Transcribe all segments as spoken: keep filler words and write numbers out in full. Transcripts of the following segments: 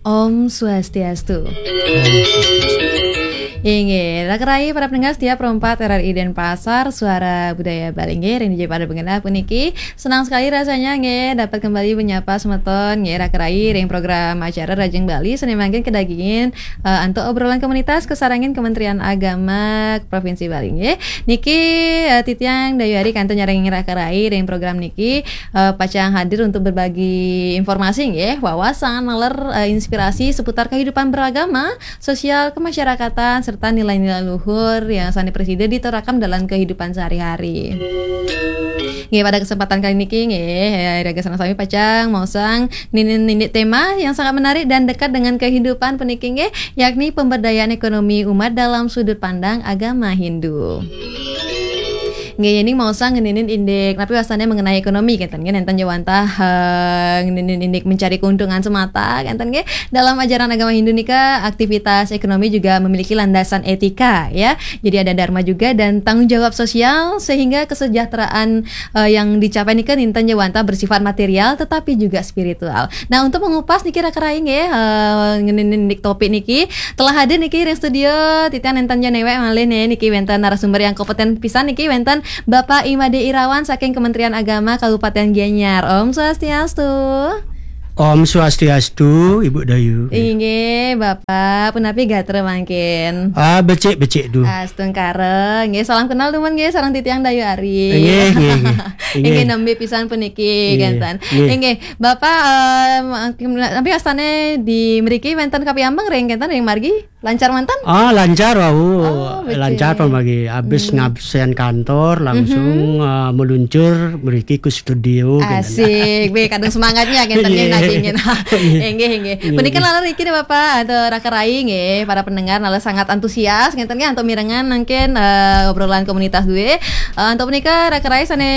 Om Swastiastu. Inggih, raka rai para pendengar setia Pro empat R R I Denpasar, Suara Budaya Bali nggih, ring dija pada bengenah puniki. Senang sekali rasanya nggih dapat kembali menyapa semeton nggih raka rai ring program acara Rajing Bali sane mangkin kadagingin, eh, antuk obrolan komunitas kasarengin Kementerian Agama Provinsi Bali nggih. Niki, eh, titiang Dayu Ari kantun nyarengin raka rai ring program niki, eh, pacang hadir untuk berbagi informasi nggih, wawasan, naler, eh, inspirasi seputar kehidupan beragama, sosial, kemasyarakatan, serta nilai-nilai luhur yang sane prasida diterapkan dalam kehidupan sehari-hari. Nggih, pada kesempatan kali niki nggih, eh, raga sareng sami pacang maosang ngenenin indik tema yang sangat menarik dan dekat dengan kehidupan puniki nggih, yakni pemberdayaan ekonomi umat dalam sudut pandang agama Hindu. Nggih, yening maosang ngenenin indik, napi wastane mengenai ekonomi, kenten nggih, nenten ja wantah, eh, ngenenin indik mencari keuntungan semata, kenten nggih. Dalam ajaran agama Hindu nika, aktivitas ekonomi juga memiliki landasan etika, ya. Jadi ada dharma juga dan tanggung jawab sosial, sehingga kesejahteraan, eh, yang dicapai nika nenten ja wantah bersifat material, tetapi juga spiritual. Nah, untuk mengupas niki raka rai nggih, eh, ngenenin indik topik niki, telah hadir niki ring studio, titiang nenten ja newek malih nih, niki wenten narasumber yang kompeten pisan niki, wenten Bapak Imade Irawan saking Kementerian Agama Kabupaten Gianyar. Om Swastiastu. Om Swastiastu, Ibu Dayu. Inggih, Bapak, punapi gatra mangkin? Ah, becik-becik du. Astungkara. Nggih, salam kenal dumun nggih sareng titiang Dayu Ari. Inggih, inggih, inggih. Inggih, nembe pisan puniki, inggih, kenten. Inggih. Inggih, Bapak, em, napi wastane di mriki wenten kapiambeng ring kenten ring margi? Lancar manten? Ah, lancar wau. Oh, becik. Lancar pamargi. Habis, hmm, ngabsen kantor, langsung, mhm, ah, meluncur mriki ke studio, kenten. Asik. Be, kadung semangatnya kenten nggih, iya, nggih, nggih. Inggih, inggih. Inggih. Punika naler niki nih Bapak, antuk raka rai nggih, para pendengar naler sangat antusias ngenten nggih antuk mirengang mangkin, eh, obrolan komunitas duwe. Eh, antuk punika raka rai sane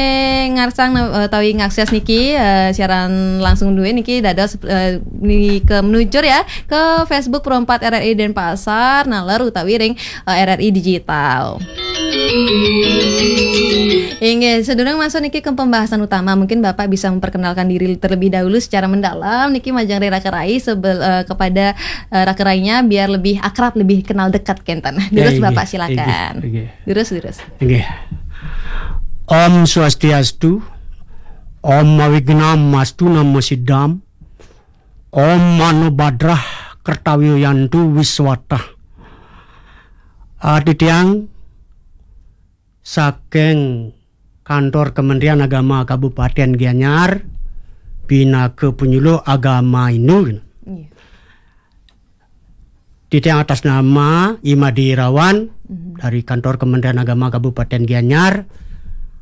ngarsang, eh, utawi ngakses niki, eh, siaran langsung duwe niki dados, eh, nika meluncur ya ke Facebook Pro empat R R I Denpasar, naler utawi ring, eh, R R I Digital. Inggih, sadurung masuk niki ke pembahasan utama, mungkin Bapak bisa memperkenalkan diri terlebih dahulu secara mendalam niki majeng ring raka rai sebel-, eh, kepada, eh, raka rainya biar lebih akrab, lebih kenal dekat kenten. Ya, durus, inggih, Bapak, silakan. Inggih, inggih. Durus, durus. Inggih. Om Swastiastu. Om Awignam Astu Namo Siddham. Om Mano Bhadrah Kartawiyantu Wiswatah. Ah, titiang saking Kantor Kementerian Agama Kabupaten Gianyar, pinaka penyuluh agama Hindu. Iya. Titiang atas nama Imade Irawan, mhm, dari Kantor Kementerian Agama Kabupaten Gianyar.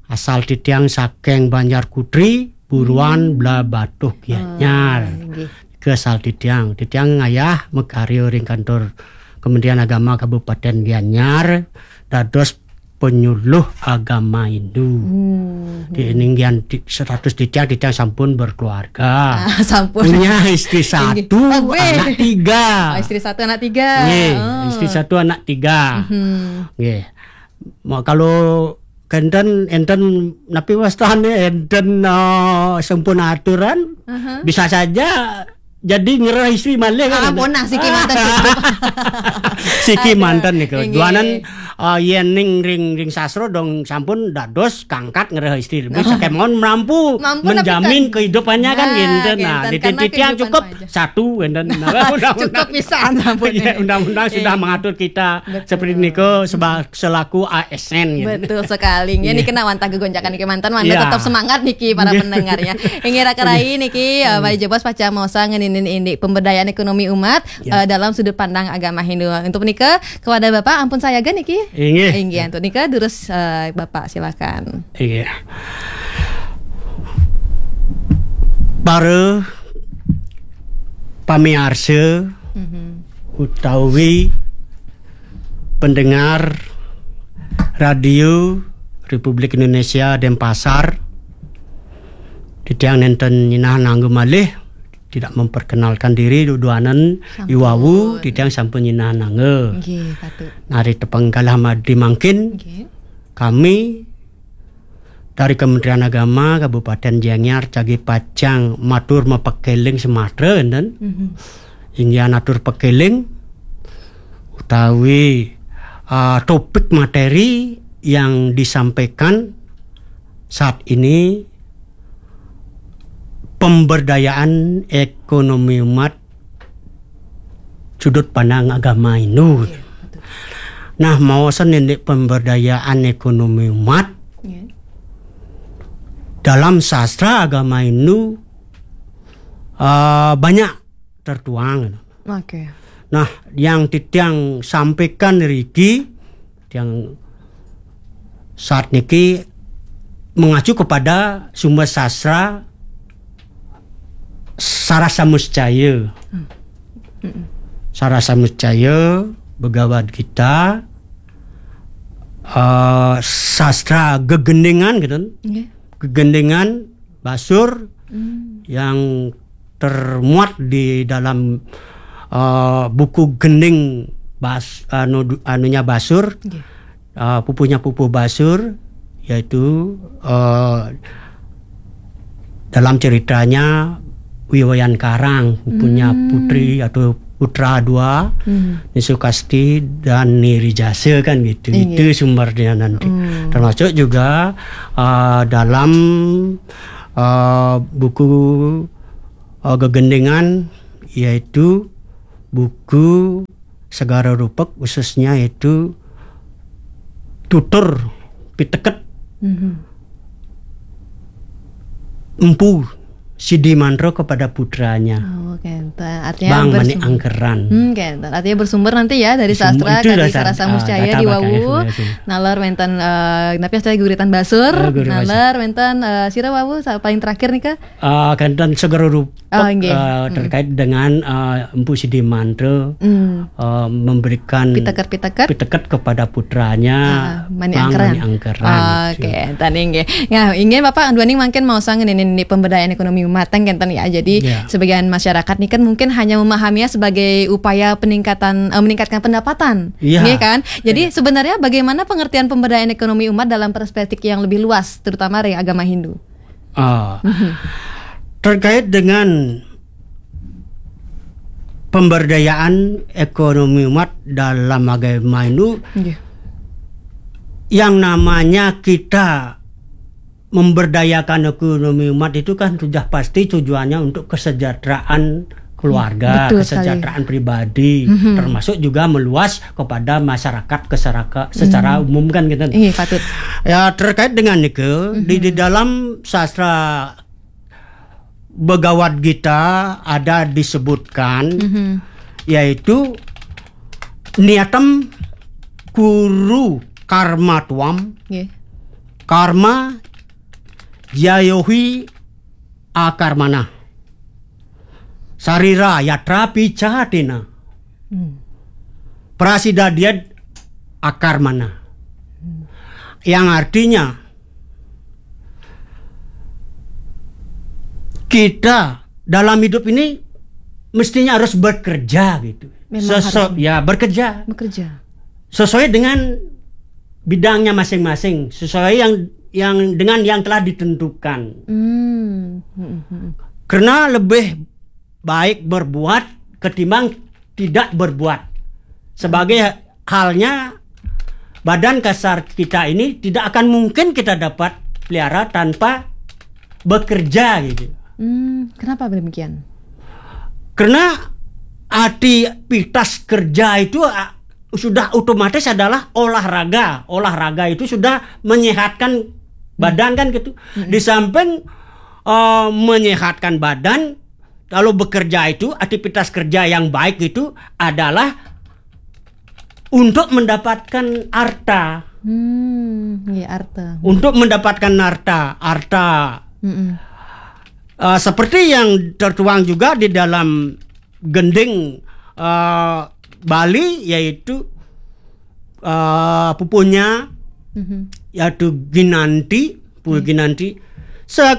Asal titiang saking Banjar Kutri, Buruan, hmm, Blahbatuh, Gianyar. Ah, inggih. Ke asal titiang. Titiang ngayah makarya ring Kantor Kementerian Agama Kabupaten Gianyar dados penyuluh agama Hindu. Hmm. Di, hmm, ninggian ti-, status titiang, titiang sampun berkeluarga. Ah, sampun. Punya istri, inggih, satu, oh, be, anak tiga. Oh, istri satu, anak tiga. Nggih, oh, istri satu, anak tiga. Mhm. Nggih. Ma-, kalau kenten, enten napi wastane, enten, eh, sampun aturan, aha, bisa saja jadi ngrereh istri malih kan. Ah, punah siki manten cukup. Siki, aduh, manten niku. Inggih. Duanan, eh, yen ning ring, ring sastra dong sampun dados kangkat ngrereh istri. Lebih, oh, saking mawon mampu, mampu menjamin napi kan kehidupannya kan, nah, kenten. Nah, kenten, di karena titik yang kehidupan cukup aja. Satu, kenten. Nah, undang-undang. Cukup pisan sampun. Iya, undang-undang sudah, iya, mengatur kita, betul, seperti niku seba-, selaku A S N, gitu. Betul sekali. Nggih, iya, niki nak wantah gegonjakan niki manten, manten, iya, tetap semangat niki para, iya, pendengarnya. Inggih, raka rai niki, eh, iya, Bapak Jebos pacang maosang ngenenin indik pemberdayaan ekonomi umat, iya, eh, dalam sudut pandang agama Hindu. Untuk menika, kepada Bapak ampun sayaga niki. Inggih. Inggih, untuk nika durus, eh, Bapak silakan. Inggih. Para pamiarsa, mhm, utawi pendengar Radio Republik Indonesia Denpasar, titiang nenten nyinahang angga malih, tidak memperkenalkan diri, duduanan, sampun, iwau, titiang sampun nyinahang angga. Nggih, patut. Nari tepang kalah madi mangkin, nggih, kami dari Kementerian Agama Kabupaten Gianyar jagi pacang matur mapakeling sematra, enten. Mhm. inggih atur pekeling utawi uh, topik materi yang disampaikan saat ini, pemberdayaan ekonomi umat sudut pandang agama Hindu. Nah, maosan ini pemberdayaan ekonomi umat dalam sastra agama Hindu uh, banyak tertuang. Oke. Nah, yang titiang sampaikan riki, yang saat niki mengacu kepada sumber sastra Sarasa Muscaya. Sarasa Muscaya, Bhagavad Gita, uh, sastra gegendingan gitu. Nggih. Gegendingan Basur yang termuat di dalam uh, buku gending Bas, anu, anunya Basur, Nggih. uh, pupuhnya Pupuh Basur, yaitu uh, dalam ceritanya Wi Wayan Karang punya putri atau putra dua, Hmm. Ni Sukasti dan Ni Rijasa kan gitu. Iya. Itu sumbernya nanti. Hmm. Termasuk juga uh, dalam uh, buku uh, gegendingan, yaitu buku Segara Rupek, khususnya itu tutur piteket Mhm. Empu Sidi Mantra kepada putranya, Oh, kenten. Artinya Bang Manik bersum- Angkeran. Hmm, kenten. Artinya bersumber nanti ya dari Bersumber sastra itu kadi dari sa- Sarasa ah, Muscaya data di bakal Wawu. informasi. Nalar wenten eh tapi saya guritan Basur. Oh, guritan Nalar wenten eh sira Wawu sa- paling terakhir nih Kak. Uh, kenten Segara Rupek Oh, nggih. uh, terkait dengan uh, Empu Sidi Mantra Hmm. uh, memberikan Piteket-piteket. piteket kepada putranya Ah, Manik Bang Angkeran. Manik Angkeran. Oke, tadi nggih. Nah, inggih Bapak Anduaning mangkin mau sangen ini, ini pemberdayaan ekonomi umat kan kenten ya. Jadi Iya. sebagian masyarakat nih kan mungkin hanya memahaminya sebagai upaya peningkatan eh, meningkatkan pendapatan. Iya. Nggih kan? Jadi sebenarnya bagaimana pengertian pemberdayaan ekonomi umat dalam perspektif yang lebih luas, terutama dari agama Hindu? Ah, terkait dengan pemberdayaan ekonomi umat dalam agama Hindu, Nggih. yang namanya kita memberdayakan ekonomi umat itu kan sudah pasti tujuannya untuk kesejahteraan keluarga, Betul sekali. Kesejahteraan pribadi, Mhm. Termasuk juga meluas kepada masyarakat keseraka- secara umum kan gitu. Iya, patut. Ya, terkait dengan itu, di, di dalam sastra Bhagavad Gita ada disebutkan, Mhm. Yaitu niyatam kuru karma tuam Nggih. karma jayohi akarmana sarira yatrapi catina Hmm. prasidadyad akarmana. Yang artinya kita dalam hidup ini mestinya harus bekerja gitu. Memang harus. Ya, bekerja Bekerja. Sesuai dengan bidangnya masing-masing, sesuai yang yang dengan yang telah ditentukan. Hmm. Hmm, hmm. Karena lebih baik berbuat ketimbang tidak berbuat. Sebagai halnya badan kasar kita ini tidak akan mungkin kita dapat pelihara tanpa bekerja gitu. Hmm, kenapa demikian? Karena aktivitas kerja itu ah, sudah otomatis adalah olahraga. Olahraga itu sudah menyehatkan badan kan gitu. Di samping eh, menyehatkan badan, kalau bekerja itu aktivitas kerja yang baik itu adalah untuk mendapatkan harta. Hmm, iya, arta. Untuk mendapatkan harta, harta Mm-mm. Eh, seperti yang tertuang juga di dalam gending eh, Bali, yaitu eh, pupunya Mhm. yaitu Ginanti, Pupuh Ginanti. Sa